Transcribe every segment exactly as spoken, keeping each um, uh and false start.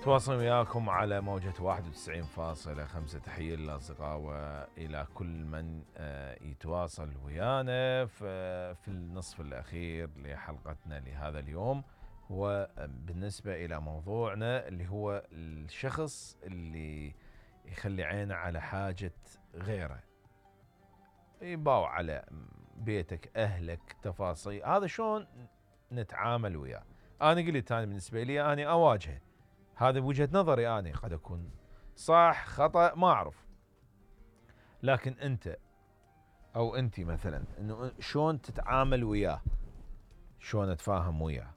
متواصل وياكم على موجة واحد وتسعين فاصلة خمسة. تحية للأصدقاء وإلى كل من يتواصل ويانا في النصف الأخير لحلقتنا لهذا اليوم. وبالنسبة إلى موضوعنا اللي هو الشخص اللي يخلي عينه على حاجة غيره، يباوع على بيتك، أهلك، تفاصيل، هذا شلون نتعامل وياه؟ أنا قلت أنا بالنسبة لي أنا أواجهه، هذا بوجهة نظري أنا، قد أكون صح خطأ ما أعرف، لكن أنت أو أنتي مثلا إنه شلون تتعامل وياه، شلون أتفاهم وياه.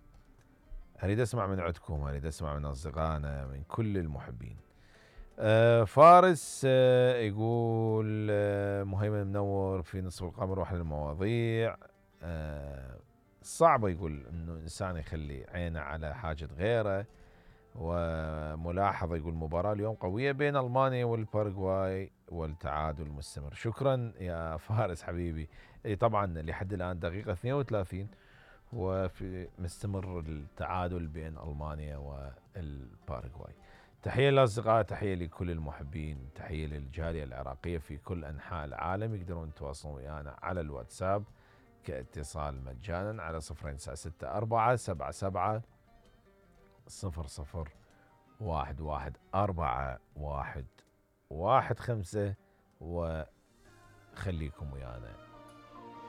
أريد أسمع من عندكم، أريد أسمع من أصدقائنا، من كل المحبين. آه فارس آه يقول آه مهيمن منور في نصف القمر واحد المواضيع آه صعبة، يقول إنه إنسان يخلي عينه على حاجة غيره. وملاحظة يقول مباراة اليوم قوية بين ألمانيا والباراغواي والتعادل مستمر. شكرا يا فارس حبيبي. اي طبعا لحد الآن دقيقة اثنين وثلاثين وفي مستمر التعادل بين ألمانيا والباراغواي. تحية للأصدقاء، تحية لكل المحبين، تحية للجالية العراقية في كل أنحاء العالم. يقدرون يتواصلون ويانا على الواتساب كاتصال مجانا على صفرين تسعة ستة أربعة سبعة سبعة صفر صفر واحد واحد أربعة واحد واحد خمسة، وخليكم ويانا